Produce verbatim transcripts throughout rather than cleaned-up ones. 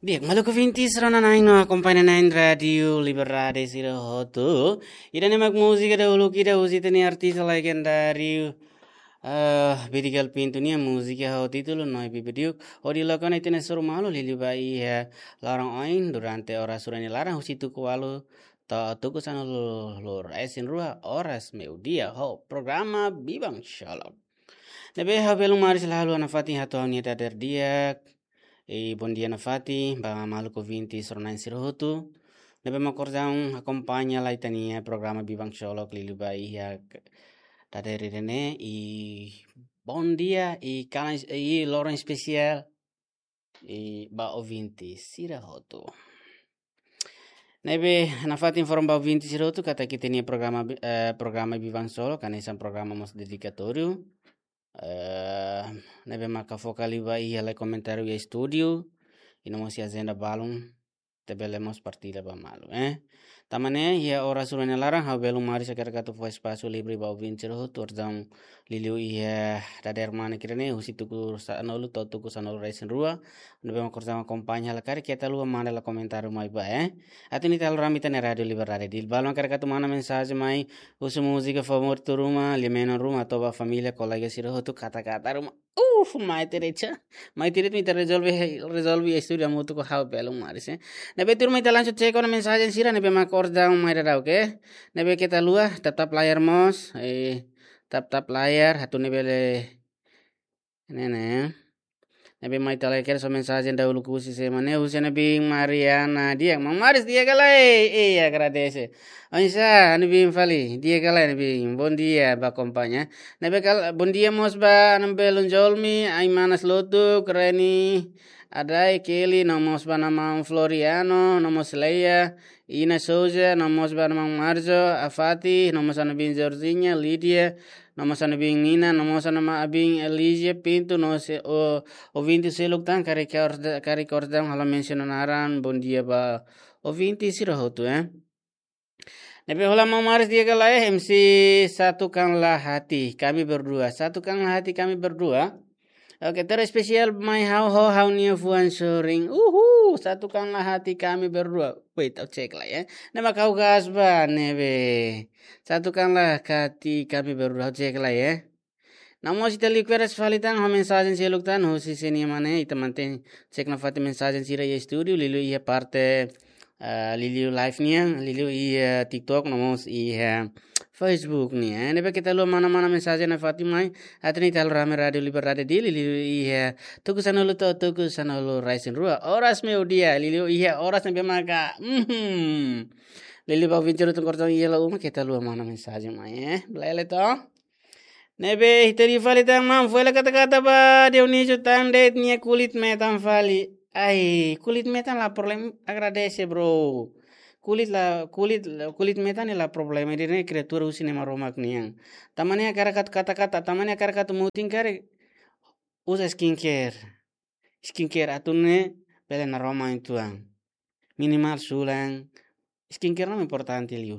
Di'ak, maluk ouvintes rona-na'in no akompaña na'in Rádiu Liberdade sira hotu. Ida-ne'e mak múzika dahuluk ida husi ita-nia artis legendáriu, eh, Bidigal Pinto nia múzika ho títulu Noiva Bidiuk. Hodi loke ona ita-nia soru malu liuliu ba iha loron oin durante oras rua nia laran husi tuku ualu to'o tuku sanulu-resin-rua oras meiudia ho programa Biban Xolok. Ne'ebé ha'u belun maris la haluha nafatin hato'o ha'u-nia dadeer di'ak. I bondia nafatin ba maluk ouvintes rona-na'in sira hotu ne'ebé mak orsida akompaña lai ita-nia programa Biban Xolok liuliu ba iha dadeer ida-ne'e, i bondia, i kalan, i loron espesiál i ba ouvintes sira hotu. Ne'ebé nafatin informa ba ouvintes sira hotu katak ita-nia programa bi-, eh, programa Biban Xolok hanesan programa mós dedikatóriu. Eh, ne'ebé maka foka liu ba iha lai komentáriu iha estúdiu, i no mós iha ajenda balun, ita bele mós partilla ba malu, eh. Tanba ne'e, iha oras rua nia laran, ha'u belun maris hakarak atu fó espasu livre ba ouvintes sira hotu, orsida liuliu iha dadeer mane kira ne'e, husi tuku sanulu to'o tuku sanulu-resin-rua, ne'ebé mak orsida akompaña hela karik keta haluha manda lai komentáriu mai ba, eh. Atu nune'e ita halo rame ita-nia Rádiu Liberdade. Di'ak, balun hakarak atu manda mensajen mai, husu múzika favoritu ruma, lia-menon ruma, atu ba família, kolega sira hotu, kata-kata ruma. Uf, mai tiha de'it. Mai tiha de'it mak ita rezolve, rezolve iha estúdiu hamutuk ho ha'u belun maris, eh. Ne'ebé tuirmai ita langsung cek ona mensajen sira ne'ebé mak orsida mai daudaun, oke? Ne'ebé keta haluha, tap-tap layar mós, eh, tap-tap layar, atu nune'e bele, ne'e, ne'e. Ne'ebé mai ita lai kedas mensajen dahuluk husi sé mak ne'e, husi Ana Bin Mariana. Di'ak, maun maris di'ak ka lae? Iya, agradese. Oinsá, Ana Bin fali? Di'ak ka lae, Ana Bin? Bondia ba akompaña. Ne'ebé kal-, bondia mós ba Ana Belun Jolmi, Ai Manas Lotuk, Reni, Adai, Kelly, no mós ba Ana Maun Floriano, no mós Leia, Ina Souza, no mós ba Ana Maun Marzo, Afati, no mós Ana Bin Jorginha, Lídia, no mós Ana Bin Nina, no mós Ana Ma-, Bin Elígia Pinto, no sé, o, ouvinte seluk tan, karik orsida, karik orsida halo mensiona naran, bondia ba ouvinte sira hotu, eh. Ne'ebé hola maun maris di'ak ka lae, M C Satukan Lahati, kami berdua. Satukan Lahati, kami berdua. Oke, terespesiál mai ha'u ho ha'u-nia fuan sorin. Uhu, Satukan Lahati, kami berdua. Wait, ha'u cek lai, eh. Ne'e mak ha'u gas ba, ne'ebé. Satukan Lahati, kami berdua, ha'u cek lai, eh. No mós ita liu kedas fali tan ho mensajen seluk tan, husi sé nia mak ne'e, ita mantein cek nafatin mensajen sira iha estúdiu, liuliu iha parte, eh, liuliu live nian, liuliu iha TikTok, no mós iha Facebook nian. Ne'ebé keta haluha mana-mana mensajen nafatin mai, atu nune'e ita halo rame Rádiu Liberdade Dili, liuliu iha tuku sanulu to'o tuku sanulu-resin-rua oras meiudia, liuliu iha oras ne'ebé maka, mhm. Liuliu ba ouvinte sira hotu orsida iha la'o uma, keta haluha mana mensajen mai, eh. Belun to? Ne'ebé ita liu fali tan maun, fó hela kata-kata ba Dionísio tan de'it nia kulit metan fali. Ai, kulit metan la problema, agradese, bro. Kulit la, kulit, kulit metan ne'e la problema, ida-ne'e kriatura husi Nai Maromak nian. Tanba ne'e hakarak atu kata-kata, tanba ne'e hakarak atu mutin karik, uza skincare. Skincare atu nune'e bele naroman uitoan. Minimal sulan, skincare ne'e importante liu.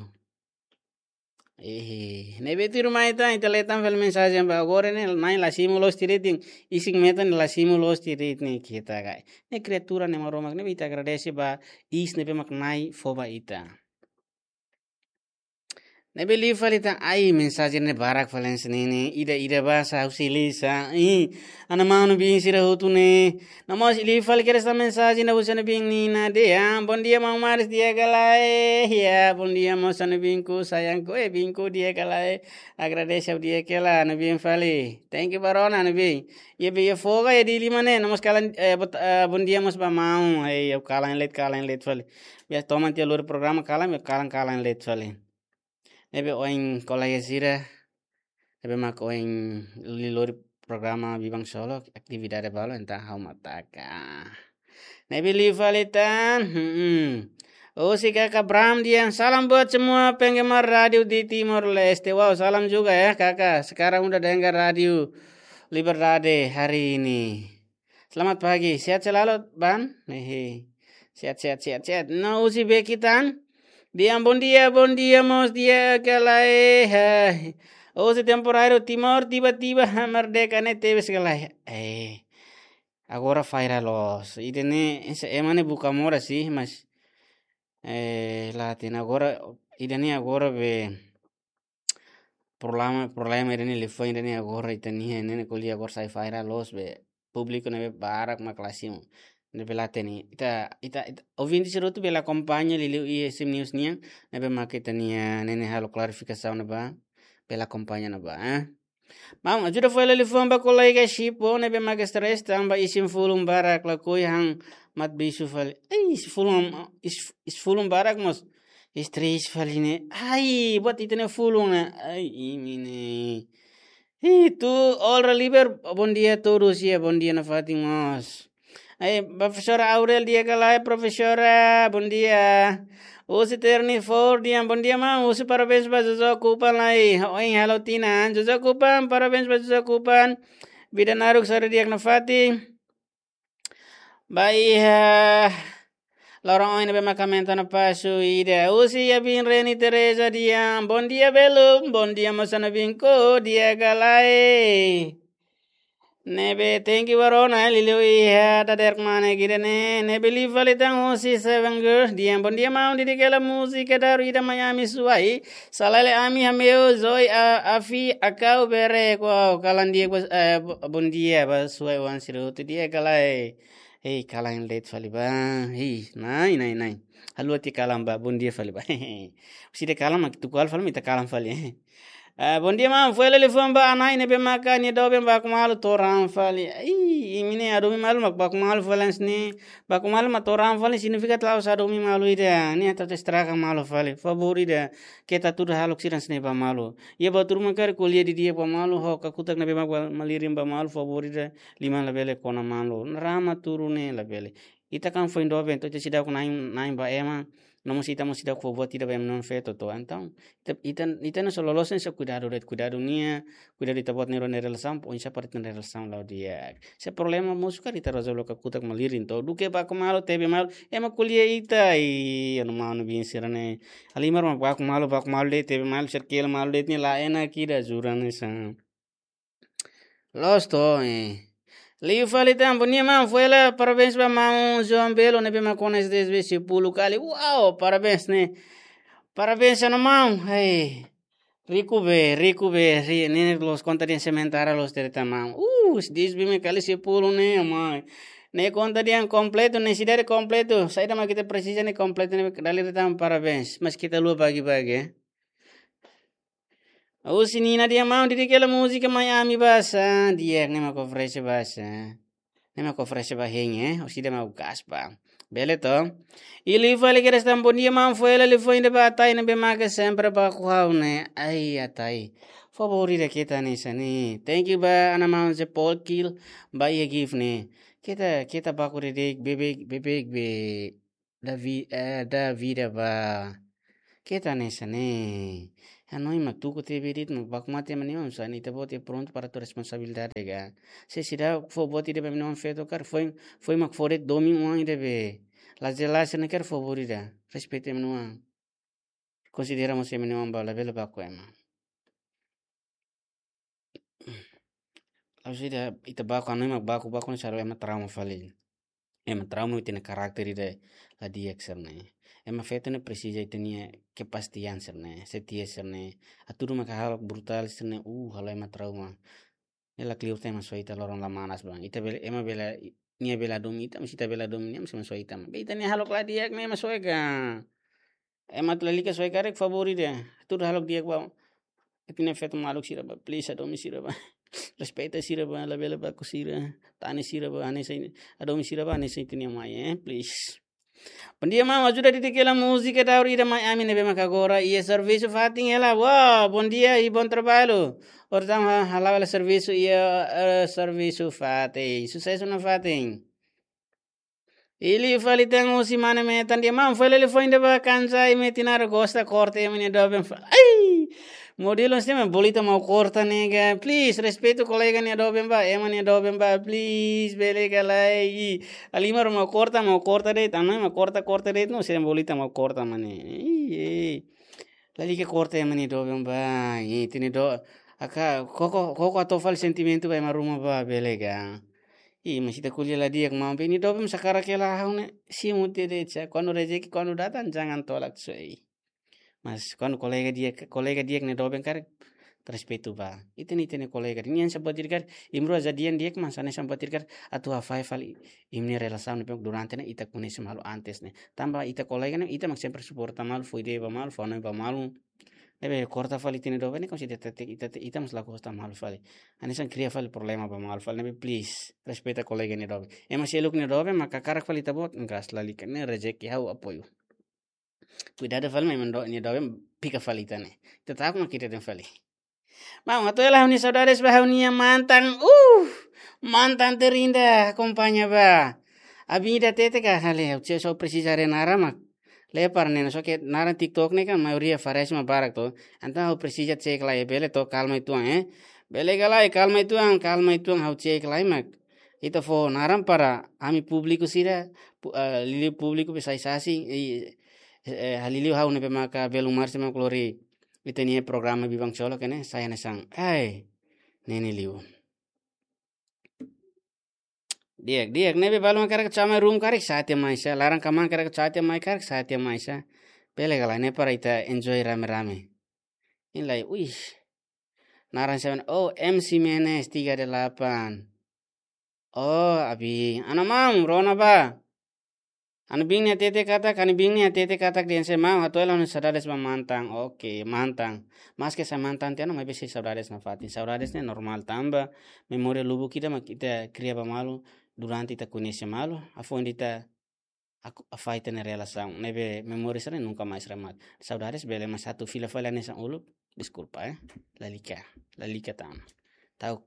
Eh, ne'ebé tuirmai tan, ita lee tan fali mensajen ba agora ne'e, Nai la simu loos tiha de'it, isin metan la simu loos tiha de'it ne'e keta ka lae. Ne'e kriatura Nai Maromak, ne'ebé ita agradese ba iis ne'ebé mak Nai fó ba ita. Ne'ebé liu fali tan, ai, mensajen ne'e barak fali hanesan ne'e, ida-ida basa husi Lisa. Ih, Ana Maun Ana Bin sira hotu ne'e. No mós liu fali kedas tan mensajen husi Ana Bin Nina dehan, bondia maun maris di'ak ka lae. Ya, bondia mós Ana Binku, sayangku, eh, Binku di'ak ka lae. Agradese ha'u di'ak hela, Ana Bin fali. Thank you ba rona, Ana Bin. Iha be iha folga iha Dili mak ne'e, no mós kalan, eh, bot-, eh, bondia mós ba maun. Ai, ha'u kalan leet, kalan leet fali. Biasa toman tiha lori programa kalan, kalan, kalan leet fali. Ne'ebé oin kolega sira, ne'ebé mak oin liu lori programa Biban Xolok, atividade balu, entaun ha'u mak taka. Ne'ebé liu fali tan, hmm. Husi Kaka Bram dehan, salam buat semua penggemar radio di Timor Leste. Wow, salam juga ya, Kaka. Sekarang udah dengar Radio Liberdade hari ini. Selamat pagi, sehat selalu, Ban? Hehe. Sehat, sehat, sehat, sehat. No husi Bekitan. Dehan bondia, bondia mós di'ak ka lae. Hai. Husi temporáriu Timor, tiba-tiba merdeka ne'e tebes ka lae. Eh. agora falla loos. Ida-ne'e, ese ema ne'e buka moras sih, mas, eh, la hatene agora, ida-ne'e agora be problema, problema ida-ne'e liafuan ida-ne'e agora ita-nia ne'e ko'alia agora sai falla loos be públiku ne'ebé barak mak la simu. Ne'ebé la hatene. Ita, ita, ita, ouvinte sira hotu bele akompaña liuliu iha S M News nian, ne'ebé mak ita-nia ne'e halo klarifikasaun ne'ebá, bele akompaña ne'ebá, eh. Maun, ajuda fó hela liafuan ba kolega Chipo ne'ebé mak stress tanba isin-fulun barak lakohi han mat bisu fali. Ei, isin-fulun, is-, isin-fulun barak mós stress fali ne'e. Ai, buat ita-nia fulun ne'e. Ai, imi ne'e. Ih, tu, olá, Liber, bom dia a todos, ya, bom dia nafatin mós. Ai, profesora Aurel, di'ak ka lae, profesora, bom dia. Husi Terni Ford, di'ak, bom dia, maun. Husi parabéns ba Jojo Kupan lai. Oin halo tinan. Jojo Kupan, parabéns ba Jojo Kupan. Vida naruk sara di'ak nafatin. Ba iha loron oin ne'ebé mak aumenta ona pasu ida. Husi iha biin Reni Teresa, di'ak. Bom dia, belun. Bom dia, moça na binko, di'ak ka lae. Ne'ebé thank you ba rona, eh, liuliu iha dadeer mane gida ne'e. Ne'ebé liu fali tan husi Seven Girls, di'ak. Bom dia, maun, di'ak ka lae, múzika daruak ida mai ami Suai. Salele ami hameu Zoi a, afi akau bere ko kalan di'ak ba, eh, bo-, bom dia ba Suai-oan sira hotu, di'ak ka lae. Hei, kalan de'it fali ba. Hei, nai, nai, nai. Halo ati kalan ba, bom dia fali ba. Husi ida kalan mak tuku halo fali, mak ita kalan fali. Ah, bom dia, maun. Fó hela liafuan ba Anai ne'ebé maka nia doben baku malu toran fali. Ih, imi ne'e hadomi malu mak baku malu fali hanesan ne'e. Baku malu mak toran fali signifika la'ós hadomi malu ida. Nia atu estraga malu fali. Favór ida, keta hatudu hahalok sira hanesan ne'e ba malu. Iha buat ruma karik ko'alia didi'ak ba malu, ho kakutak ne'ebé mak ba malirin ba malu, favór ida, liman labele kona malu. Naran mak tuur ne'e labele. Ita kan foin doben, entaun ita seidauk na'in, na'in ba ema, no mós ita mós seidauk fó buat ida ba ema-nia oan-feto to. Entaun, ita, ita, ita ne'e só loloos ne'e só kuidadu de'it, kuidadu nia, kuidadu ita-boot nia rona relasaun, oinsá para ita-nia relasaun la'o di'ak. Se problema mosu karik ita rezolve ho kakutak malirin to. Duké baku malu, tebe malu, ema ko'alia ita, i, anu maun biin sira ne'e. Halimar mak baku malu, baku malu de'it, tebe malu, sirkela malu de'it ne'e la enak ida, jura ne'e sa. Loos to, eh. Liu fali tan, bom dia, maun. Fó hela parabéns ba maun João Belo ne'ebé mak kona S D S B sepuluh kali. Wow, parabéns ne'e. Parabéns ona maun. Hei. Riku be, riku be, ri-, ne'e loos konta dehan sementara loos de'it tan maun. Uh, S D S B mak kali sepuluh ne'e, maun. Ne'e konta dehan kompletu, ne'e sidade kompletu. Saida mak ita presiza ne'e kompletu ne'e dala ida tan parabéns. Mas ita la'o bagi-bagi, eh. Husi Nina, di'ak maun, di'ak ka lae, múzika mai ami ba sa, di'ak, ne'e mak oferese ba sa. Ne'e mak oferese ba hein, eh, husi ida mak gas ba. Bele to. I liu fali kedas tan, bom dia maun, fó hela liafuan ida ba Atai ne'ebé maka sempre baku ha'u ne'e. Ai, Atai. Favór ida keta hanesan ne'e. Thank you ba ana maun Zé Paul Kil, ba iha gift ne'e. Keta, keta baku de'it, beibeik, beibeik be. Da vi-, eh, da vida ba. Keta hanesan ne'e. Hanoin mak tuku tebe de'it mak baku mate ema nia oan, hanesan ne'e ita-boot iha prontu para atu responsabilidade ka. Se seidauk fó buat ida ba ema nia oan-feto karik, foin, foin mak fó de'it domin oan ida be. La jelas ne'e karik favór ida. Respeita ema nia oan. Konsidera mós ema nia oan ba, labele baku ema. La'ós ida ita baku, hanoin mak baku, baku ne'e selalu ema trauma fali. Ema trauma ita-nia karakter ida la di'ak sira-ne'e. Ema feto ne'e presiza ita-nia kepastian sira-ne'e, setia sira-ne'e. Hatudu maka halo brutál sira-ne'e, uh, halo ema trauma. Ne'e la kleur ita ema soe ita loron la manas ba. Ita bele, ema bele, nia bele hadomi ita, mas ita bele hadomi nia, mas ema soe ita. Be ita-nia hahalok la di'ak ne'e ema soe ka. Ema atu lalika soe karik favór ida. Hatudu hahalok di'ak ba ita-nia feto maluk sira ba, please, hadomi sira ba. Respeita sira ba, labele baku sira. Tane sira ba, hanesan, hadomi sira ba, hanesan ita-nia mai, eh, please. Bom dia, maun. Ajuda di'ak ka lae, múzika daruak ida mai ami ne'ebé maka agora iha servisu fatin hela. Wow, bom dia e bom trabalho. Orsida ha-, hala'o hela servisu iha, eh, servisu fatin. Susesu nafatin. I liu fali tan husi Mane Metan, di'ak maun, fó hela liafuan ida ba Kansai Metinara, gosta korta ema nia doben fa-, ai! Modelu hanesan ne'e mak bolu ita mak korta ne'e ka. Please, respeitu kolega nia doben ba, ema nia doben ba, please, bele ka lae. Halimar mak korta, mak korta de'it, hanoin mak korta, korta de'it, no, se bolu ita mak korta mane. Ih, eh. Lalika korta ema nia doben ba, ih, ita-nia do-, aka, koko, koko hato'o fali sentimentu ba ema ruma ba, bele ka. Ih, mas ita ko'alia la di'ak maun be, nia doben mós hakarak hela ha'u ne'e, simu de'it de'it sa, kuandu rezeki, kuandu datang, jangan tolak, so, ei. Mas kuandu kolega di'ak, kolega di'ak nia doben karik, respeitu ba. Ita-nia, ita-nia kolega, nia hanesan buat ida karik, imi rua jadi di'ak, mas hanesan buat ida karik, atu hafai fali imi-nia relasaun ne'ebé durante ne'e ita koñese malu antes ne'e. Tanba ita kolega ne'e, ita mak sempre suporta malu, fó ideia ba malu, fó hanoin ba malu. Ne'ebé korta fali ita-nia doben ne'e, konside ita, ita, ita, ita mós la gosta malu fali. Hanesan kria fali problema ba malu fali, ne'ebé please, respeita kolega nia doben. Ema seluk nia doben, mak hakarak fali ita-boot, engkas lalika, ne'e rezeki, ha'u apoiu. Kuidadu fali, mai mando nia doben, pika fali ita ne'e. Ita ta'uk mak ita dehan fali. Maun, hato'o hela ha'u-nia saudades ba ha'u-nia mantan. Uh, mantan terindah, akompaña ba. Abinda tete ka hale, ha'u só presiza haree naran mak. Lepar ne'e, só ke naran TikTok ne'e kan maioria faresma barak to. Entaun ha'u presiza cek lai, bele to, kalma uitoan, eh. Bele ka lae, kalma uitoan, kalma uitoan, ha'u cek lai mak. Ita fó naran para ami públiku sira, pu-, eh, liuliu públiku be sai-sasing, eh, eh, liuliu ha'u ne'ebé maka belun marsima klori. Ita-nia programa Biban Colo kene, sai hanesan. Ai, ne'e ne'e liu. Di'ak, di'ak, ne'ebé balun karik sa'e mai rum karik sa'e tiha mai sa, laran kaman karik sa'e tiha mai karik sa'e tiha mai sa. Bele ka lae, ne'e para ita enjoy rame-rame. Ini lai, wih. Naran sa'e, oh, M C Menes tiga delapan. Oh, abi, ana maun, rona ba. Ana biin nia hatete katak, ana biin nia hatete katak dehan se maun, hato'o hela ha'u-nia saudades ba mantan. Oke, mantan. Maske sai mantan tiha ona, maibé sei saudades nafatin. Saudades ne'e normál tanba memória lubuk ida mak ita kria ba malu durante ita koñese malu, hafoin ita aku, hafai ita-nia relasaun. Ne'ebé memória sira nunka mais remata. Saudades bele, mas atu fila fali hanesan uluk, deskulpa, eh. Lalika, lalika tan. Ta'uk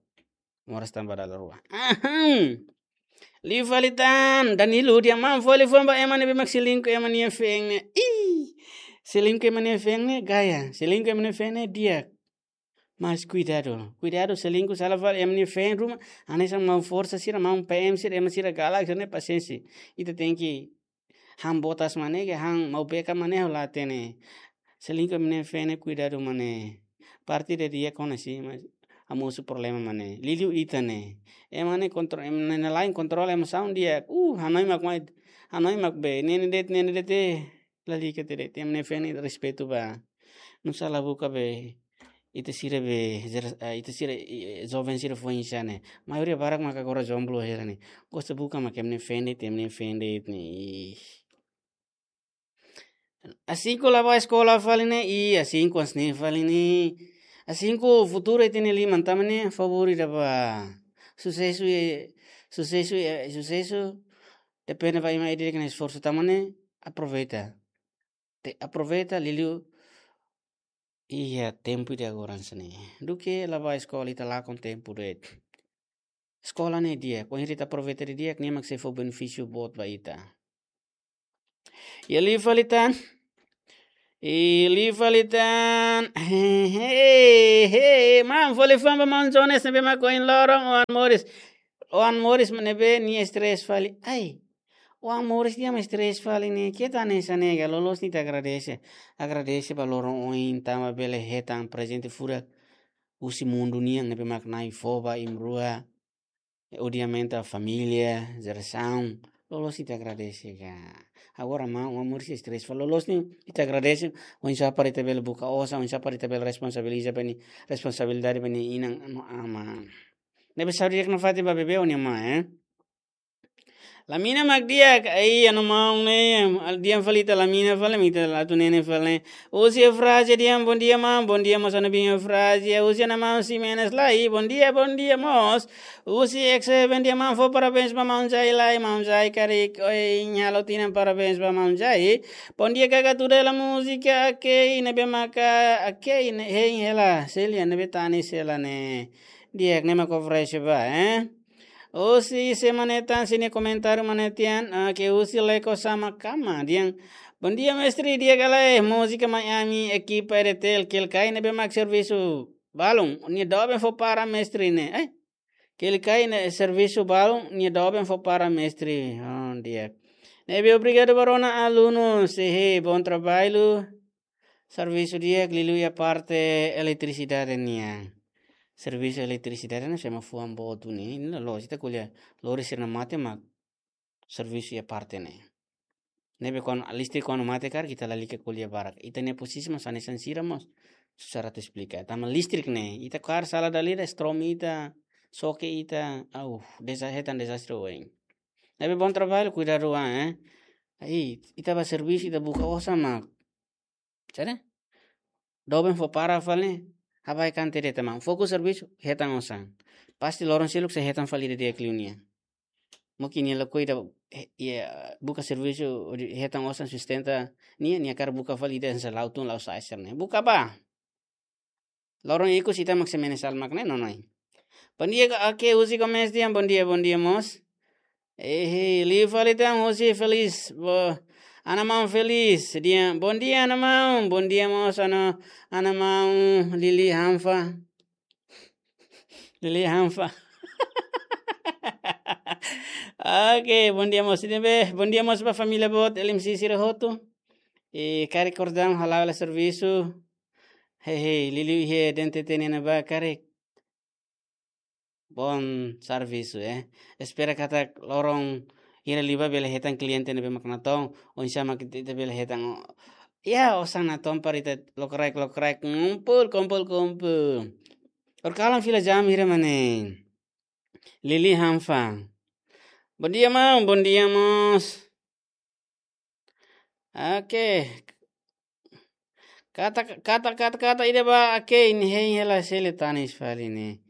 moras tanba dala rua. Ahem. Liu fali tan, Danilo, dehan maun, fó liafuan ba ema ne'ebé mak selingkuh ema nia feen ne'e. Ih, selingkuh ema nia feen ne'e gaya, selingkuh ema nia feen ne'e di'ak. Mas kuidadu, kuidadu, selingkuh sala fali ema nia feen ruma, hanesan maun forsa sira, maun P M sira, ema sira galak sira ne'e pasiénsia. Ita tenke han botas mak ne'e, ke han mau beka mak ne'e ha'u la hatene. Selingkuh ema nia feen ne'e kuidadu mak ne'e. Parte ida di'ak ona si, mas hamosu problema mak ne'e. Liuliu ita ne'e. Ema ne'e kontro-, ema ne'e, ne'e lain kontrola emosaun di'ak. Uh, hanoin mak mai, hanoin mak be. Ne'e ne'e de'it, ne'e ne'e de'it, eh. Lalika de'it, ema nia feen ne'e respeitu ba. Nusá la buka be. Ita sira be, zer-, eh, ita sira, eh, joven sira foin-sa'e ne'e. Maioria barak maka agora jomblo hela ne'e. Gosta buka mak ema nia feen de'it, ema nia feen de'it ne'e. Ih. Asin ku la bá eskola fali ne'e, i asin ku hanesan ne'e fali ne'e. Asin ku futuru ita-nia liman tama ne'e, favór ida ba. Susesu, eh, susesu, eh, susesu. Depende ba ema ida-idak nia esforsu tama ne'e, aproveita. Te, aproveita, liuliu. Iha tempu ida agora hanesan ne'e. Duké la bá eskola ita lakon tempu de'it. Eskola ne'e di'ak, kuandu ita aproveita didi'ak, nia mak sei fó benefísiu boot ba ita. Iha liu fali tan. Iha liu fali tan. He, he, he, maun, fó liafuan ba maun Jones ne'ebé mak ohin loron oan moris. Oan moris ne'ebé nia stress fali. Ai. Oan moris dehan mak stress fali ne'e. Keta hanesan ne'e ka, loloos ne'e ita agradese. Agradese ba loron ohin tanba bele hetan prezente furak husi mundu nian ne'ebé mak Na'i fó ba imi rua. Obviamente família, jerasaun, loloos ita agradese ka. Agora maun, oan moris stress fali, loloos ne'e ita agradese, oinsá para ita bele buka osan, oinsá para ita bele responsabiliza ba nia, responsabilidade ba nia inan no aman. Ne'ebé saúde di'ak nafatin ba bebé ho nia amá, eh. Lamina mak di'ak, ai, anu maun ne'e, dehan fali ita lamina fali, ita la atu nene fali ne'e. Husi Eufrazia dehan, bom dia, maun. Bom dia, mós ana biin Eufrazia. Husi ana maun Ximenes lai, bom dia, bom dia, mós. Husi X seven dehan, maun, fó parabéns ba maun Jai lai, maun Jai karik ohin halo tinan, parabéns ba maun Jai. Bom dia, Kaka Tudela múzika, oke, ne'ebé maka, oke, ne'e, hein hela, Celia, ne'ebé tanis hela ne'e. Di'ak, ne'e mak oferese ba, eh? Husi se mane tan sini komentáriu mane tian, ah, ke husi Leko Sama Kama, dehan, bom dia, mestre, di'ak ka lae, múzika mai ami, ekipa R T L, kelikai ne'ebé mak servisu balun, nia doben fó para mestre ne'e, eh? Kelikai ne'e servisu balun, nia doben fó para mestre, oh, di'ak. Ne'ebé obrigadu ba rona alunu, sehe, bom trabalho, servisu di'ak, liuliu iha parte eletrisidade nian. servisu eletrisidade ne'e, se ema fuan boot duni, ne'e loloos, ita ko'alia lori sira-ne'e mate mak servisu iha parte ne'e. Ne'ebé kuandu listrik kuandu mate karik ita lalika ko'alia barak. Ita-nia posisi mós hanesan sira mós susar atu esplika. Tanba listrik ne'e, ita kaer sala dala ida, strom ita, soke ita, au, deza-, hetan dezastre oin. Ne'ebé bom trabalho, kuidadu an, eh. Ai, ita bá servisu, ita buka osan mak, saida? Doben fó para fali, habai kan tede tamang. Fokus servisu, hetan osan. Pasti loron seluk sei hetan fali ida di'ak liu nia. Mungkin nia lakohi ida, eh, iha, buka servisu, hodi hetan osan sustenta nia, nia hakarak buka fali ida hanesan la'o tun la'o sa'e sira-ne'e. Buka bá. Loron ikus ita mak sei menesal mak ne'e, nonoin. Bom dia, ka-, oke, Uzi Gomes dehan, bom dia, bom dia, mós. Eh, hei, liu fali tan, Uzi Felis, bo-, Ana Maun Felis, dehan, bom dia, Ana Maun, bom dia, mós, Ana, Ana Maun, Lili Hanfa. Lili Hanfa. Oke, bom dia, mós, ne'ebé, bom dia, mós, ba família boot, L M C sira hotu. I karik kordang hala'o hela servisu. Hei, hei, liuliu iha D N T T ne'e ba karik. Bom servisu, eh. Espera katak loron hira liubá bele hetan kliente ne'ebé mak natoon, oinsá mak ita, ita bele hetan o-, ya, osan natoon para ita lokraik, lokraik, kumpul, kumpul, kumpul. Horikalan fila jam hira mak ne'e. Lili Hanfa. Bom dia, maun. Bom dia, mós. Oke. Katak, katak, katak, katak ida ba, oke, ne'e hein hela sele tanis fali ne'e.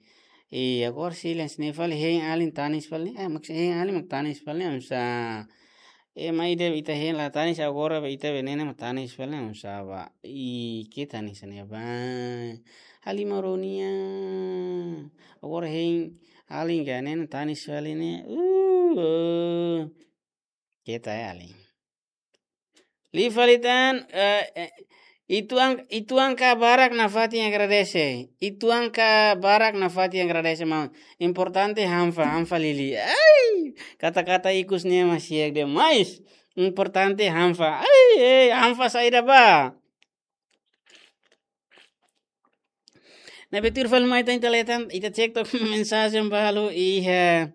Iya, agora silence ne'e fali hein alin tanis fali ne'e. Eh, mak hein alin mak tanis fali ne'e, oinsá. Eh, mai ida ita hein la tanis, agora ba ita be ne'e ne'e mak tanis fali ne'e, oinsá ba. Ih, ke tanis ne'e ba. Halima Ronia. Agora hein alin ka ne'e ne'e tanis fali ne'e. Uh, uh. Keta ya, alin. Liu fali tan, eh, eh, ituan, ituan ka barak nafatin agradese. Ituan ka barak nafatin agradese, maun. Importante Hanfa, Hanfa Lili. Ai, katak-katak ikus ne'e masiak demais. Importante Hanfa. Ai, eh, Hanfa saida ba. Ne'ebé tuir fali mai tan ita lee tan, ita cek took mensajen balu iha,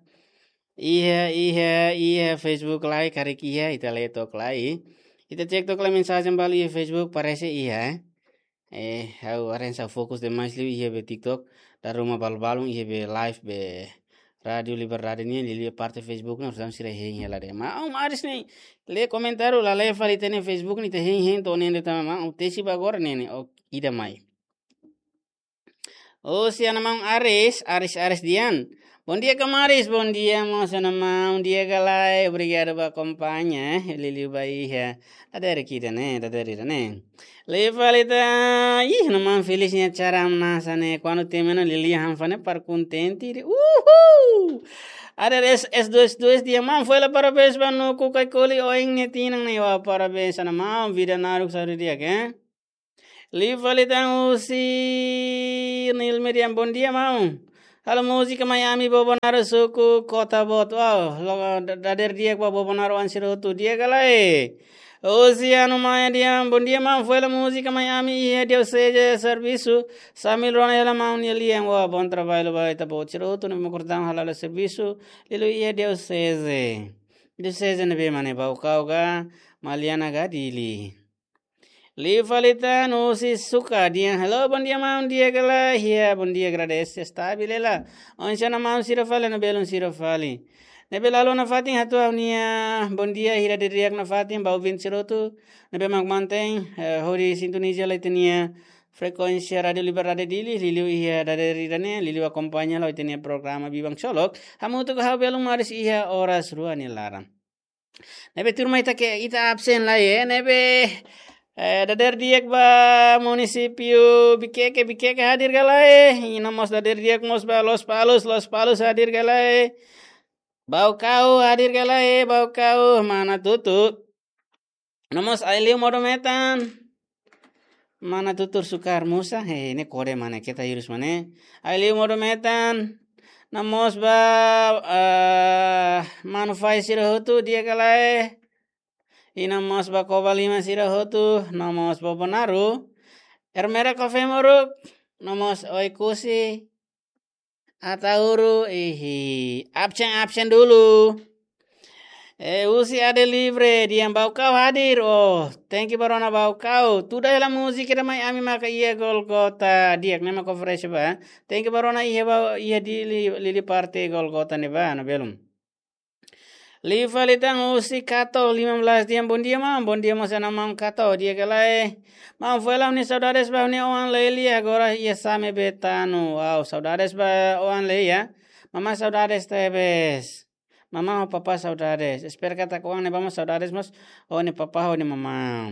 iha, iha, iha Facebook lai, karik iha, ita lee took lai. Ita cek took lai mensajen balu iha Facebook, parese iha, eh. Eh, ha'u haree hanesan fokus demais liu iha be TikTok, dala ruma balu-balun iha be live be Rádio Liberdade nian, liuliu parte Facebook ne'e, orsida sira hein hela de'it. Maun Aris ne'e, lee komentáriu, la lee fali ita-nia Facebook ne'e, ita hein-hein to'o ne'e de'it tanba maun, tesi ba agora ne'e ne'e, o, ida mai. Osi Ana Maun Aris, Aris, Aris dehan. Bom dia, Kamaris, bom dia, mós Ana Maun, di'ak ka lae, obrigadu ba akompaña, eh, liuliu ba iha. Dadeer ida ne'e, dadeer ida ne'e. Liu fali tan, ih, Ana Maun Felis nia cara hamnasa ne'e, kuandu temi ona Lili Hanfa ne'e para kontente de'it. Uhul! Ada S, S dua S dua dehan, maun, fó hela parabéns ba Nuku Kaikoli oin nia tinan ne'e, wah, parabéns Ana Maun, vida naruk saúde di'ak, eh. Liu fali tan husi Nilmi dehan, bom dia, maun. Halo múzika mai ami Bobonaro suku Kota Boot. Wow, logo da-, dadeer di'ak ba Bobonaro oan sira hotu, di'ak ka lae. Husi Anu Maia dehan, bom dia, maun, fó hela múzika mai ami iha Dioseze servisu. Sambil rona hela maun nia lian. Wah, bom trabalho ba ita-boot sira hotu ne'ebé mak kordang hala'o hela servisu. Liuliu iha Dioseze. Dioseze ne'ebé mak ne'e, Baucau ka, Maliana ka, Dili. Liu fali tan husi Suka dehan, halo, bom dia, maun, di'ak ka lae? Iya, bom dia, agradese, estabil hela. Oinsá Ana Maun sira fali, no belun sira fali. Ne'ebé la haluha nafatin hato'o ha'u-nia bom dia, hira di'ak nafatin ba ouvinte sira hotu ne'ebé mak mantein, eh, hodi sintoniza hela ita-nia frekuénsia Rádio Liberdade Dili, liuliu iha dadeer ida ne'e, liuliu akompaña hela ita-nia programa Biban Ksolok. Hamutuk ho ha'u belun Maris iha oras rua nia laran. Ne'ebé tuirmai ita ke, ita absen lai, eh, ne'ebé, eh, dadeer di'ak ba munisípiu Viqueque, Viqueque hadir ka lae? I no mós dadeer di'ak mós ba Lospalos, Lospalos hadir ka lae? Baucau hadir ka lae? Baucau, mana tutu. No mós Aileu modo metan. Mana tutur sukar musa, he, ne'e kode mana kita hirus mana. Aileu modo metan. No mós ba, eh, manu fai sira hotu, di'ak ka lae? I no mós ba Covalima sira hotu, no mós Bobonaro. Ermera Café Moruk, no mós Oekusi. Ataúro, ihi. Absen, absen dulu. Eh, husi Ade Livre, dehan Baucau hadir. Oh, thank you ba rona Baucau. Tuda hela múzika ida mai ami maka iha Golgota. Di'ak, ne'e mak oferese ba. Thank you ba rona iha ba, iha Dili, Lili parte Golgota ne'ebá, no belum. Liu fali tan husi Kato lima belas dehan, bondia maun, bondia mós ana maun Kato, di'ak ka lae. Maun, foin hela ha'u-nia saudades ba ha'u-nia oan Leli, agora iha Same Betano. Wow, saudades ba oan Leli, ya. Mamá saudades tebes. Mamá ho papá saudades. Espera katak oan ne'ebá mós saudades mós ho nia papá ho nia mamá.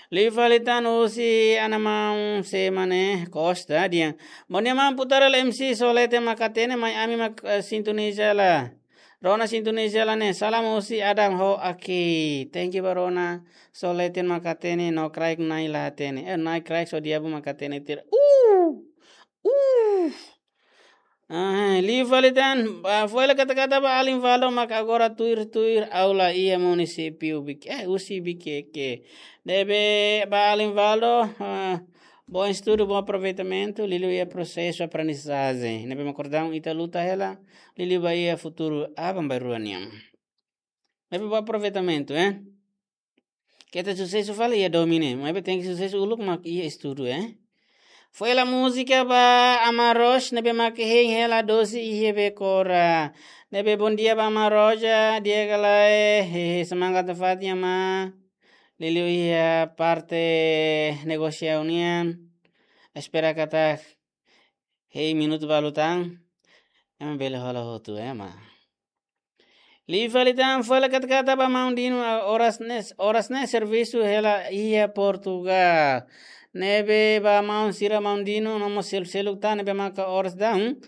Liu fali tan husi ana maun Semane Costa dehan, bondia maun, putar hela M C Solete mak hatene, mai ami mak, eh, sintoniza hela. Rona sintoniza hela ne'e, salam husi Adam ho Aki. Thank you ba rona, Solete mak hatene, no kraik nai la hatene. Eh, nai kraik só diabu mak hatene tira. Uh! Uh! Ah, liu fali tan, ba, foin hela kata-kata ba Alinvaldo mak agora tuir-tuir aula iha munisípiu Bik-, eh, husi Vikeke. Ne'ebé ba Alinvaldo, ah, bom estudo, bom aproveitamento, liuliu iha prosesu aprendizajen. Ne'ebé mak kordang ita luta hela, liuliu ba iha futuru aban-bainrua nian. Ne'ebé bom aproveitamento, eh? Keta susesu fali iha domin ne'e, maibé tenke susesu uluk mak iha estudu, eh? Foin hela múzika ba Amaros, ne'ebé mak hein hela dosi iha Bekora. Ne'ebé bondia ba Amaros, di'ak ka lae, hehe, semangat nafatin, amá. Liuliu iha parte negosiaun nian. Espera katak hein minutu balu tan, ema bele hola hotu, ema. Liu fali tan, foin hela kata-kata ba maun Dino, ah, oras ne'e, oras ne'e servisu hela iha Portugal. Ne'ebé ba maun sira, maun Dino, no mós sel-, seluk tan, ne'ebé maka oras daudaun.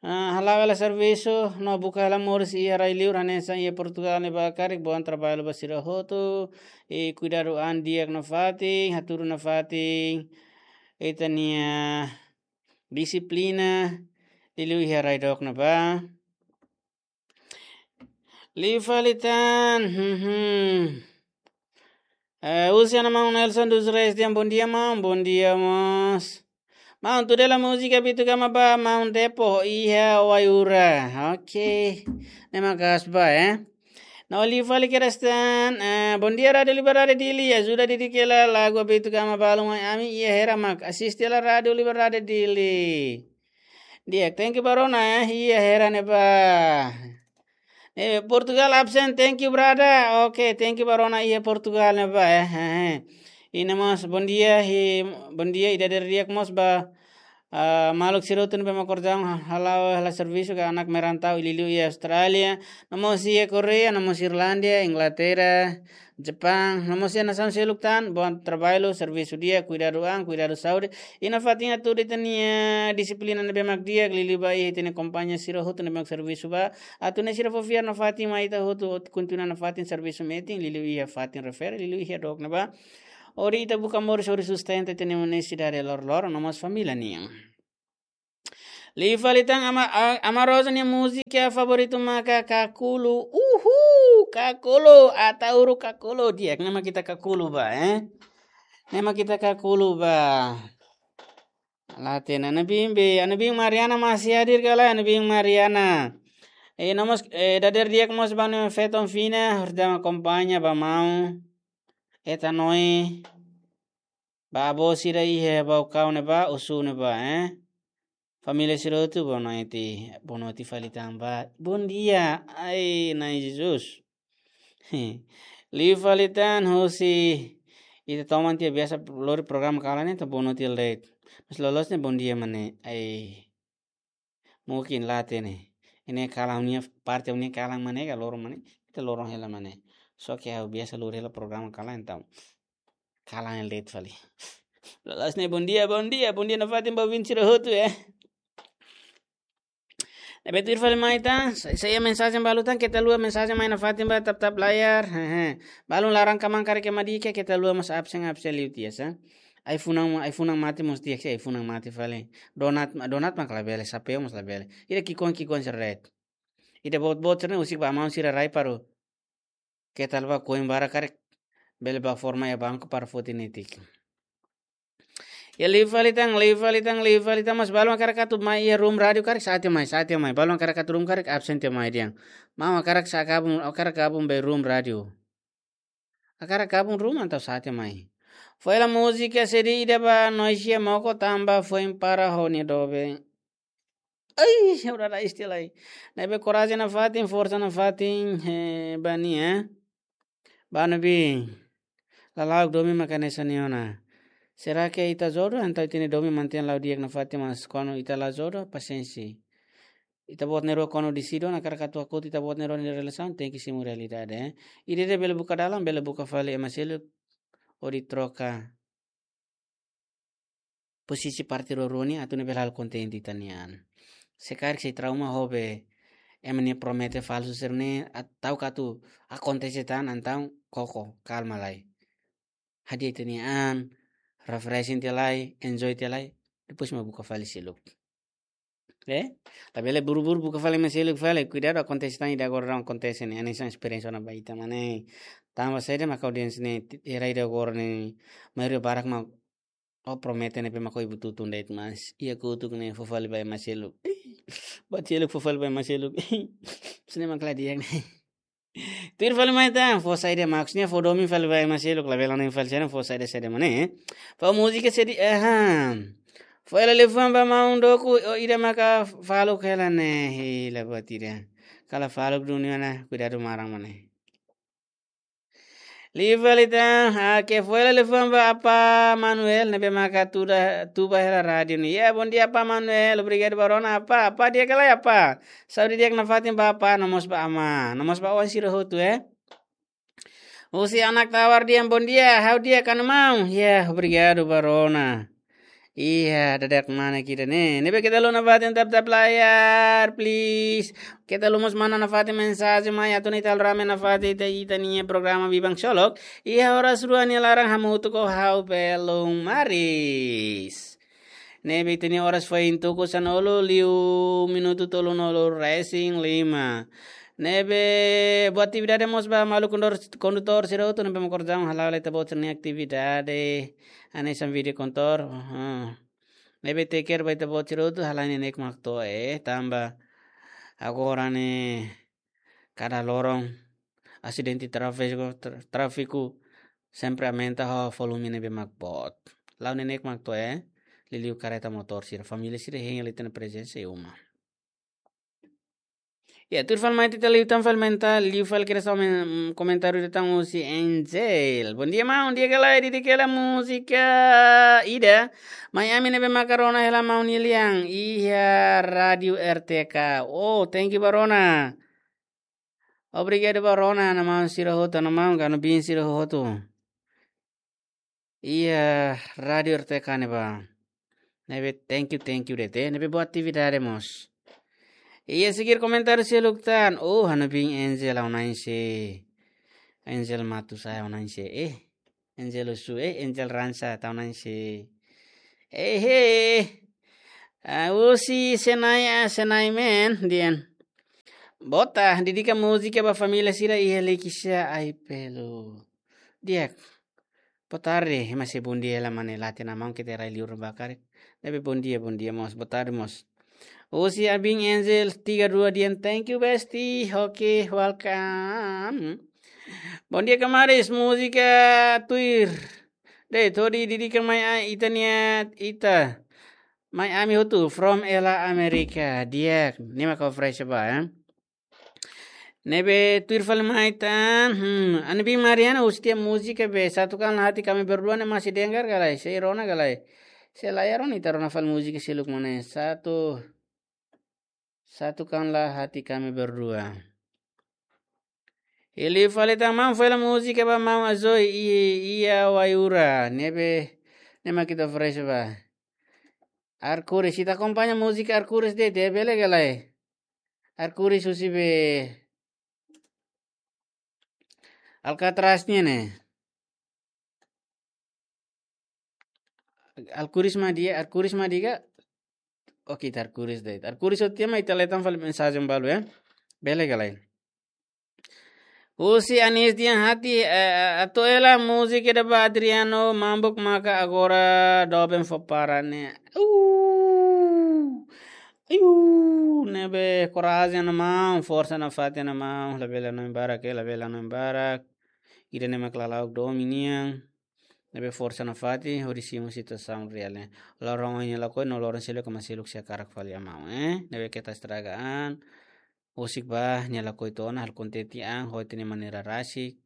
Ah, hala'o hela servisu, no buka hela moris iha rai-liur, hanesan iha Portugal ne'ebá karik, bom trabalho ba sira hotu, i kuidadu an di'ak nafatin, hatudu nafatin ita-nia dixiplina, liuliu iha rai dook ne'ebá. Liu fali tan, hmm, hmm. Eh, husi ana maun Nelson dos Reis dehan, bondia maun, bondia mós. Maun, tuda hela múzika Bitu Gama ba maun Depo iha Waiura. Oke. Ne'e mak gas ba, eh. No liu fali kedas tan, eh, bondia Rádiu Liberdade Dili, ajuda didik hela lagu Bitu Gama balu mai ami iha Hera mak. Asiste hela Rádiu Liberdade Dili. Di'ak, thank you ba rona, eh, iha Hera ne'ebá. Eh, Portugal absen, thank you brother. Oke, thank you ba rona iha Portugal ne'ebá, eh, eh, eh. I no mós bondia, i bondia, i dadeer di'ak mós ba, ah, maluk sira hotu ne'ebé mak kordang, ha-, hala'o hela servisu ka anak merantau, liuliu iha Austrália, no mós iha Korea, no mós Irlandia, Inglaterra, Japaun, no mós iha nasaun seluk tan, bom trabalho, servisu di'ak, kuidadu an, kuidadu saúde, i nafatin atu ita-nia dixiplina ne'ebé mak di'ak, liuliu ba iha ita-nia kompañia sira hotu ne'ebé mak servisu ba, atu nune'e sira fó fiar nafatin mai ita hotu, atu kontinua nafatin servisu metin, liuliu iha fatin refere, liuliu iha dook ne'ebá. Hodi ita buka moris, hodi sustenta ita-nia nesesidade loroloron, no mós família nian. Liu fali tan Ama, a-, Ama Rosa nia múzika favoritu maka Kakulu. Uhul, Kakulu, Ataúro Kakulu. Di'ak, ne'e mak ita Kakulu ba, eh? Ne'e mak ita Kakulu ba. La hatene, Ana Bimbi, Ana Bimbi Mariana masih hadir ka lae, Ana Bimbi Mariana? Eh, no mós, eh, dadeer di'ak mós ba ha'u-nia feton fina, hodi akompaña ba maun. Eta noi. Ba avó sira iha Baucau ne'ebá, Osu ne'ebá, eh? Família sira hotu, boa noite. Boa noite fali tan ba. Bondia. Ai, Na'i Jesus. Liu fali tan husi ita toman tiha biasa lori programa kalan ne'e, ita boa noite de'it. Mas loloos ne'e bondia mak ne'e. Ai. Mungkin la hatene. Ne'e kalan nia parte, nia kalan mak ne'e ka loron mak ne'e. Ita loron hela mak ne'e. Só ke ha'u biasa lori hela programa kalan entaun. Kalan de'it fali. Loloos ne'e bondia, bondia, bondia nafatin ba ouvinte sira hotu, eh. Ne'ebé tuir fali mai tan, sa-, sai mensajen balu tan, keta haluha mensajen mai nafatin ba tap-tap layar. Hehe. Balun laran kaman karik ema di'ak, keta haluha mós absen, absen liu tiha sa. Ai-funan, ai-funan mate mós di'ak, ai-funan mate fali. Donat, donat mak labele, sapeu mós labele. Ida ki'ikoan, ki'ikoan sira de'it. Ida boot-boot sira ne'e husik ba maun sira rai para keta haluha koin barak karik bele bá forma iha banku para foti netik. Ya, liu fali tan, liu fali tan, liu fali tan, mas balu hakarak atu mai iha room rádiu karik sa'e tiha mai, sa'e tiha mai. Balu hakarak atu room karik absen tiha mai dehan. Maun hakarak sa'e gabung, hakarak gabung ba room rádiu. Hakarak gabung room entaun sa'e tiha mai. Foin hela múzika CD ida ba Noisia Moko tanba foin para ho nia doben. Ai, ora da istilah. Ne'ebé korajen nafatin, forsa nafatin, eh, ba nia, eh. Ba Nabin. Lala'ok domin maka hanesan ne'e ona. Será que ita jodoh, entaun ita-nia domin mantein la'o di'ak nafatin, mas kuandu ita la jodoh, pasiénsia. Ita-boot na'in-rua kuandu desizaun hakarak atu hakotu ita-boot na'in-rua nia relasaun, tenke simu realidade, eh. Ida-idak bele buka dalan, bele buka fali ema seluk, hodi troka posisi parte rua-rua nian atu nune'e bele halo kontente ita-nia an. Se karik sei trauma ho be ema nia promete falsu sira-ne'e, atu karik atu akontese tan, entaun koko, kalma lai. Hadi'a ita-nia an, refreshing tiha lai, enjoy tiha lai, depois mak buka fali seluk. Eh? Labele buru-buru buka fali ema seluk fali. Kuidadu, akontese tan ida agora daudaun akontese ne'e. Hanesan esperiénsia ona ba ita mak ne'e. Tanba saida mak audiénsia ne'e, ti-, era ida agora ne'e, maioria barak mak ó promete ne'ebé mak ó ibu tutun de'it, mas iha kotuk ne'e fó fali ba ema seluk. Buat seluk fó fali ba ema seluk. Sini mak la di'ak ne'e. Tuir fali mai tan, fó saida mak sini fó domin fali ba ema seluk, labele hanoin fali sini fó saida saida mak ne'e. Fó múzika sedi, aha. Fó hela liafuan ba maun doku, o ida maka faluk hela ne'e, hela buat ida. Kala faluk dunia ona, kuidadu maran mak ne'e. Liu fali tan, ah, ke fó hela liafuan ba Apa Manuel, ne'ebé maka tuda, tuba hela rádiu ne'e. Ya, bondia Apa Manuel, obrigadu ba rona Apa, Apa di'ak ka lae Apa. Saúde di'ak nafatin ba Apa, no mós ba Ama, no mós ba oan sira hotu, eh. Husi Anak Tawar dehan bondia, ha'u di'ak ka maun. Ya, obrigadu ba rona. Iya, dadak mana kita ne'e. Ne'ebé keta haluha nafatin tap-tap layar, please. Keta haluha mós manda nafatin mensajen mai atu nune'e ita halo rame nafatin ita, ita-nia programa Biban Ksolok. Iha oras rua nia laran hamutuk ho ha'u Belun Maris. Ne'ebé ita-nia oras foin tuku sanulu liu minutu tolunulu resin lima. Ne'ebé buat atividade mós ba maluk kondutór, kondutór sira hotu ne'ebé mak kordang hala'o lai ita-boot sira-nia atividade. Hanesan vídeo kondutór. Aha. Ne'ebé take care ba ita-boot sira hotu, halai neineik mak to'o, eh, tanba agora ne'e kada loron asidente tráfegu, tra-, tráfegu sempre aumenta ho volume ne'ebé mak boot. La'o neineik mak to'o, eh, liuliu karreta motór sira, família sira hein hela ita-nia prezensa iha uma. Ya, tuir fali mai ita liután fali mai ita, liu fali kedas amen, mm, komentáriu ida tan husi Angel. Bondia maun, di'ak ka lae, di'ak ka lae múzika ida. Mai ami ne'ebé maka rona hela maun nia lian iha Rádiu R T K. Oh, thank you ba rona. Obrigadu ba rona, ha'u-nia maun sira hotu, ha'u-nia maun ka ha'u-nia biin sira hotu. Iha Rádiu R T K ne'ebá. Ne'ebé thank you, thank you de'it, eh. Ne'ebé buat atividade mós. Iha seguir komentáriu seluk tan. Oh, ha'u-nia biin Angel, ha'u na'in-see. Angel Matus, ha'u na'in-see. Eh, Angel Osu, eh, Angel Ransa, ha'u na'in-see. Eh, eh. Ah, husi Senai, ah, Senai men, dehan. Bota, dedika múzika ba família sira iha Likisá, ai pelu. Di'ak. Boa tarde, ema sei bondia hela mak ne'e, la hatene maun, keta rai liur ba karik. Ne'ebé bondia, bondia mós, boa tarde mós. Husi Abin Angel tiga dua dehan, thank you bestie, oke, welcome. Bondia kamaris, múzika tuir. De'it, hodi dedika mai a-, ita-nia, ita. Mai ami hotu, from Ela Amérika, di'ak, ne'e mak ha'u fresh ba, eh. Ne'ebé tuir fali mai tan, hmm, ha'u-nia biin Mariana husu tiha múzika be, Satukanlah Hati Kami Berdua ne'e masih dengar ka lae, sei rona ka lae. Sei la iha rona, ita rona fali múzika seluk mak ne'e, satu, Satukanlah Hati Kami Berdua. Liu fali tan maun, fó hela múzika ba maun Azoi i, iha Waiura, ne'ebé, ne'e mak ita fresh ba. Arkuris, ita akompaña múzika Arkuris de'it, bele ka lae. Arkuris husi be Alcatraz nian ne'e. Arkuris mak di'ak, Arkuris mak di'ak ka? Oke, ita Arkuris de'it. Arkuris hotu tiha mai ita hetan fali mensajen balu, eh. Bele ka lae. Husi Anis Dian Hati, eh, eh, atu hela múzika ida ba Adriano Mambuk maka agora doben fó para ne'e. Uh. Iu, ne'ebé korajen, maun, forsa nafatin, maun, labele hanoin barak, eh, labele hanoin barak. Ida-ne'e mak lala'ok domin nian. Ne'ebé forsa nafatin, hodi simu situasaun reál ne'e. Loron ohin nia lakohi, no loron seluk ema seluk sei hakarak fali, maun, eh. Ne'ebé keta estraga an. Husik ba, nia lakohi tiha ona, halo kontente an, ho ita-nia maneira rasik.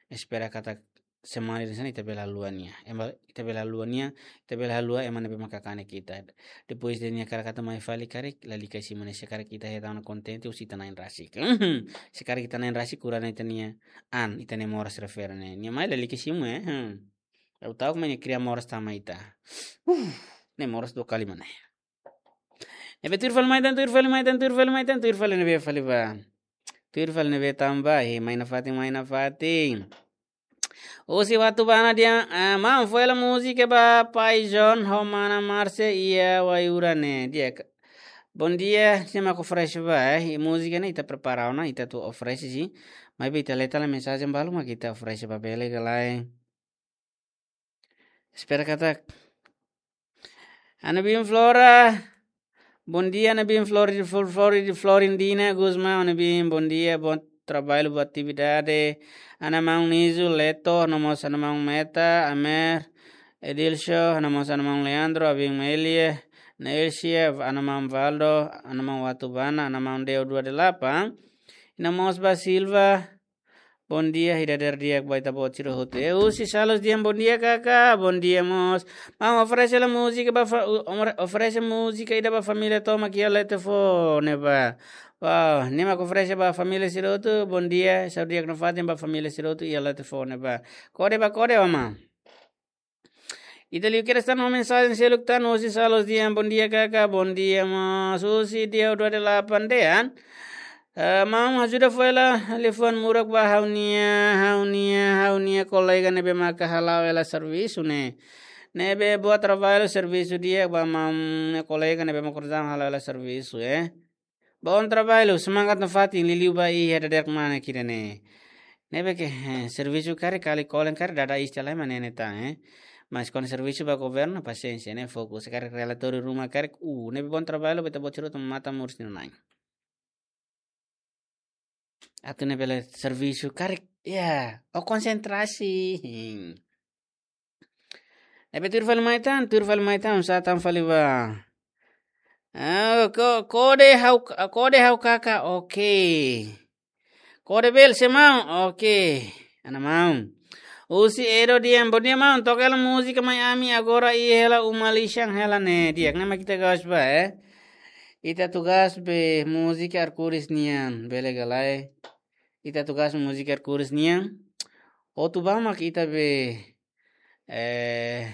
Espera katak semana ida-ne'e ita bele haluha nia. Ema, ita bele haluha nia, ita bele haluha ema ne'ebé maka kanek ita. Depois de nia hakarak atu mai fali karik, lalika simu ne'e, se karik ita hetan ona kontente, husi ita-nia na'in rasik. Se karik ita-nia na'in rasik, kura ona ita-nia an, ita-nia moras refere ne'e. Nia mai lalika simu, eh. Hmm. Ha'u ta'uk mak nia kria moras tama ita. Uh, ne'e moras dua kali mak ne'e. Ne'ebé tuir fali mai tan, tuir fali mai tan, tuir fali mai tan, tuir fali ne'ebé fali ba. Tuir fali ne'ebé tama ba, eh, mai nafatin, mai nafatin. Husi Watubana dehan, ah, maun, fó hela múzika ba Pai John ho mana Marcia iha Waiura ne'e. Di'ak. Bondia, sé mak oferese ba, eh. I múzika ne'e ita prepara ona, ita atu oferese, sin. Maibé ita lee tiha lai mensajen balu mak ita oferese ba, bele ka lae. Espera katak. Ana Bim Flora. Bondia, Ana Bim Flori-, Flor-, Flori-, Florindina Gusmão, Ana Bim, bondia, bom trabalho, boa atividade. Ana maun Nizu, Leto, no mós ana maun Meta, Amer, Edilcio, no mós ana maun Leandro, Abim Melia, Neilcia, ana maun Valdo, ana maun Watubana, ana maun Deo dua delapan. No mós ba Silva, bondia, ida-ne'e di'ak ba ita-boot sira hotu. Eh, husi Salus dehan bondia, kaka, bondia mós. Maun, oferese hela múzika ba fa-, u-, omre-, oferese múzika ida ba família tomak iha Letefo ne'ebá. Wow, ne'e mak oferese ba família sira hotu, bondia, saúde di'ak nafatin ba família sira hotu iha Letefo ne'ebá. Kode ba kode, maun. Ita liu kedas tan ho mensajen seluk tan, husi Salus dehan bondia, kaka, bondia mós, husi Deo dua delapan dehan. Eh, maun, ajuda fó hela liafuan murak ba ha'u-nia, ha'u-nia, ha'u-nia kolega ne'ebé maka hala'o hela servisu ne'e. Ne'ebé boa trabalho, servisu di'ak ba maun, nia kolega ne'ebé maka korajen hala'o hela servisu, eh. Bom trabalho, semangat nafatin, liuliu ba iha dadeer-saan ida-ne'e. Ne'ebé ke, eh, servisu karik kali kolen karik dada iis tiha lai mak ne'e tan, eh. Mas kuandu servisu ba governu, pasiénsia, ne'e fokus, karik relatóriu ruma karik, uh, ne'ebé bom trabalho, ba ita-boot sira hotu matan moris nia na'in. Atu ne'e bele servisu karik, ya, ó konsentrasi. Ne'ebé tuir fali mai tan, tuir fali mai tan, sá tan fali ba. Ah, ko-, kode ha'u, kode ha'u kaka, oke. Kode bele sé maun, oke. Ana maun. Husi Edo dehan, bondia maun, toka hela múzika mai ami agora iha hela uma lixan hela ne'e. Di'ak, ne'e mak ita gosta ba, eh. Ita atu gosta be múzika Arkuris nian, bele ka lae. Ita atu gosta múzika Arkuris nian. Hotu ba mak ita be, eh,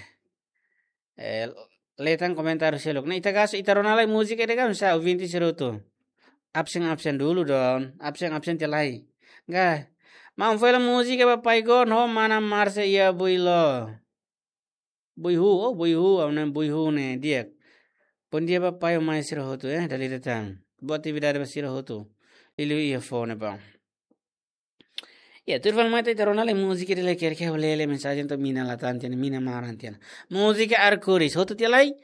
eh, lee tan komentáriu seluk. Ne'e ita gosta, ita rona lai múzika ida ka, sá, ouvinte sira hotu. Absen, absen dulu dong. Absen, absen tiha lai. Ka. Maun, fó hela múzika ba Pai Gon ho mana Marcia iha Builo. Buihu, oh, Buihu, ha'u-nia Buihu ne'e di'ak. Bondia ba pai ho mãe sira hotu, eh, dala ida tan. Boa atividade ba sira hotu. Liuliu iha foho ne'ebá. Ya, tuir fali mai tan, ita rona lai múzika ida lai, karik ha'u lee, lee mensajen to'o mina la tan tiha ona, mina maran tiha ona. Múzika Arkuris, hotu tiha lai.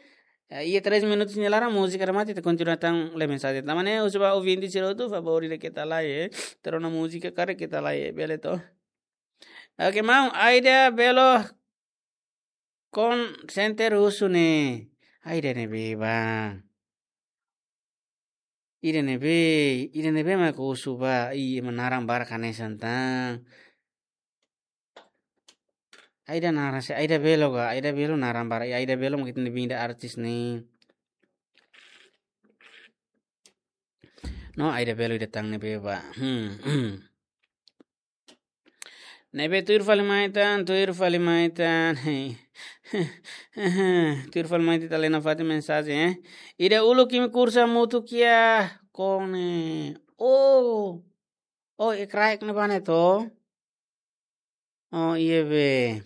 Eh, iha três minutos nia laran múzika remata, ita kontinua tan lee mensajen. Tanba ne'e, husu ba ouvinte sira hotu, favór ida keta lae, eh. Ita rona múzika karik keta lae, eh, bele to. Oke, maun, Aida Belo call center husu ne'e. Aida ne'ebé ba. Ida ne'ebé, ida ne'ebé mak husu ba, i ema naran barak hanesan tan. Aida naran sé, Aida Belo ka, Aida Belo naran barak, i Aida Belo mak ita-nia banda artis ne'e. No, Aida Belo ida tan ne'ebé ba. Hmm, hmm. Ne'ebé tuir fali mai tan, tuir fali mai tan. Tuir fali mai tan, ita lee nafatin mensajen, eh. Ida uluk imi kursu hamutuk iha Kone. Oh. Oh, iha kraik ne'ebá ne'e to. Oh, iha be.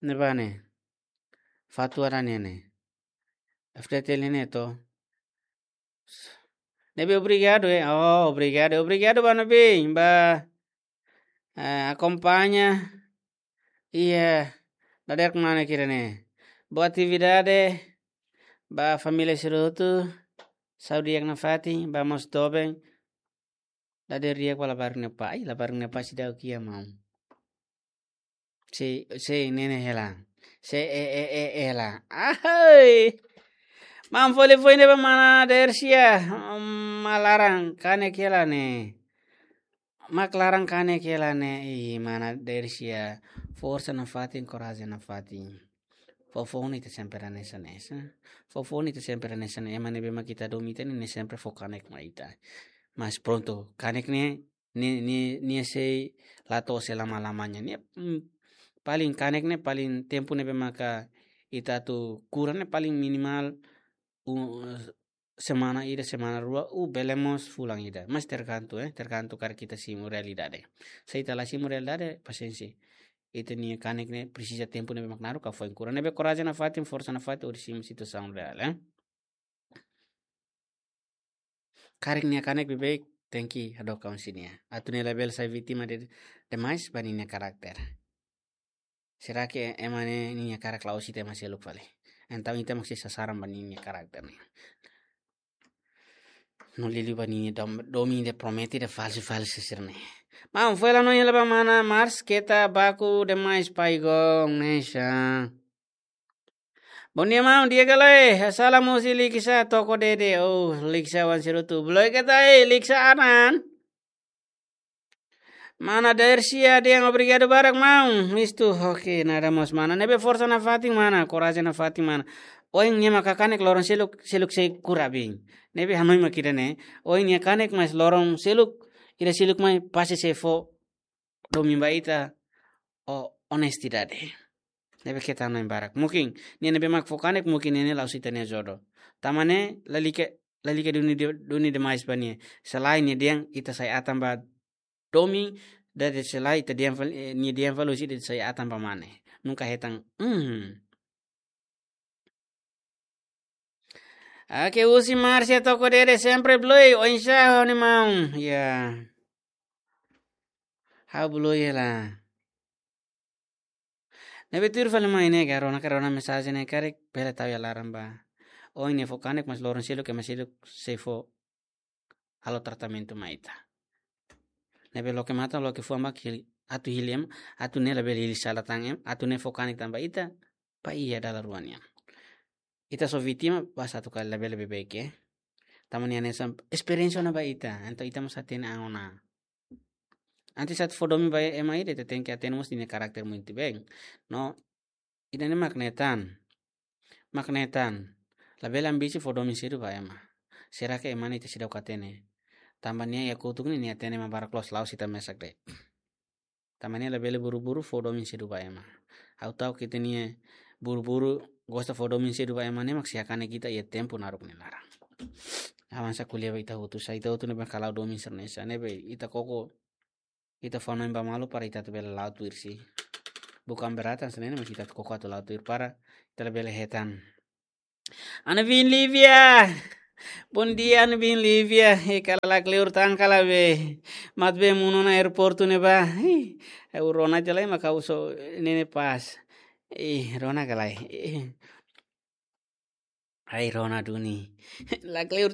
Ne'ebá ne'e. Fatuara nian ne'e. F T T L ne'e to. Ne'ebé obrigadu, eh. Oh, obrigadu. Obrigadu ba ne'ebé, ba, eh, akompaña. Iha, dadeer kemana kira ne'e? Boa atividade, ba família sira hotu, saúde di'ak nafatin, ba mós doben, dadeer di'ak ba labarik ne'e pá, ai, labarik ne'e pá seidauk iha maun. Sei, sei ne'e ne'e hela. Sei, e, e, e, hela. Ahai! Maun foli foin ne'e ba mana Dersia, mm, mak laran kanek hela ne'e. Mak laran kanek hela ne'e, ih, mana Dersia. Forsa nafatin, korajen nafatin. Foufoun ita sempre hanesan ne'e, sa. Foufoun ita sempre hanesan ne'e, ema ne'ebé mak ita domin ita ne'e, ne'e sempre fó kanek mai ita. Mas prontu, kanek ne'e, ne'e, ne'e, ne'e sei la to'o sei lama-lamanya. Ne'e, mm, paling kanek ne'e, paling tempu ne'ebé maka ita atu kura ne'e, paling minimal, u-, semana ida, semana rua, ou bele mós fulan ida. Mas tergantung, eh, tergantung karik ita simu realidade. Se ita la simu realidade, pasiénsia. Ita-nia kanek ne'e presiza tempu ne'ebé mak naruk ka foin kura. Ne'ebé korajen nafatin, forsa nafatin, hodi simu situasaun reál, eh. Karik nia kanek beibeik, tenke hadook ka husi nia. Atu nia labele sai vítima de, demais ba ninia karakter. Será que ema ne'e ninia karakter la'ós ita ema seluk fali? Entaun ita mak sei sasaran ba ninia karakter ne'e. No liuliu ba ninia dom-, domin ida promete ida falsu-falsu sira ne'e. Maun, fó hela hanoin hela ba mana Mars, keta baku demais pai gon, ne'e sa. Bondia maun, di'ak ka lae? Salam husi Liksa Toko Dede. Oh, Liksa wan serutu. Bloke ta, eh, Liksa anan. Mana Dersia dehan obrigadu barak maun. Mistu, oke, nada mós mana. Ne'ebé forsa nafatin mana, korajen nafatin mana. Ohin nia maka kanek loron seluk, seluk sei kura bem. Ne'ebé hanoin mak ida ne'e. Ohin nia kanek mas loron seluk, ida seluk mai pasti sei fó domin ba ita, o, onestidade. Ne'ebé keta hanoin barak. Mungkin, nia ne'ebé mak fó kanek, mungkin nia ne'e la'ós ita-nia jodoh. Tanba ne'e, lalika, lalika duni de-, duni demais ba nia. Selain nia dehan, ita sai atan ba domin, dade selain ita dehan fal-, eh, nia dehan fali husi ita sai atan ba mane. Nunka hetan, hmm. Oke, husi Marcia Toko Dede sempre bloke, oinsá ho nia maun. Ya. Ha'u bloke hela. Ne'ebé tuir fali mai ne'e ka, rona ka rona mensajen ne'e karik, bele tau iha laran ba. Ohin nia fó kanek mas loron seluk ema seluk sei fó halo tratamentu mai ita. Ne'ebé loke matan, loke fuan ba hili, atu hili ema, atu ne'e labele hili sala tan ema, atu ne'e fó kanek tan ba ita, ba iha dala rua nian. Ita só vítima, basta atu kali labele beibeik, eh. Tanba nia hanesan esperiénsia ona ba ita, entaun ita mós hatene an ona. Antes atu fó domin ba ema ida, ita tenke hatene mós ninia karakter muito bem. No, ida-ne'e mak ne'e tan. Mak ne'e tan. Labele ambisi fó domin sedu ba ema. Será que ema ne'e ita seidauk hatene? Tanba nia iha kotuk ne'e nia hatene ema barak loos, la'ós ita mesak de'it. Tanba nia labele buru-buru fó domin sedu ba ema. Ha'u ta'uk ita-nia buru-buru gosta fó domin sedu ba ema ne'e mak sei hakanek ita iha tempu naruk nia laran. Avansa ko'alia ba ita hotu, sa ita hotu ne'ebé mak hala'o domin sira-ne'e, sa ne'ebé ita koko, ita fó hanoin ba malu para ita atu bele la'o tuir si. Bukan beratan, sa ne'e ne'e mak ita atu koko atu la'o tuir para ita labele hetan. Ana bin Lívia. Bondia, ana bin Lívia. E kala lakleur tan kala be. Mat be munu ona aeroportu ne'ebá. Ih, ha'u rona tiha lai mak ha'u só ne'e ne'e pas. Ih, rona ka lae. Ih. Ai, rona duni. Lakleur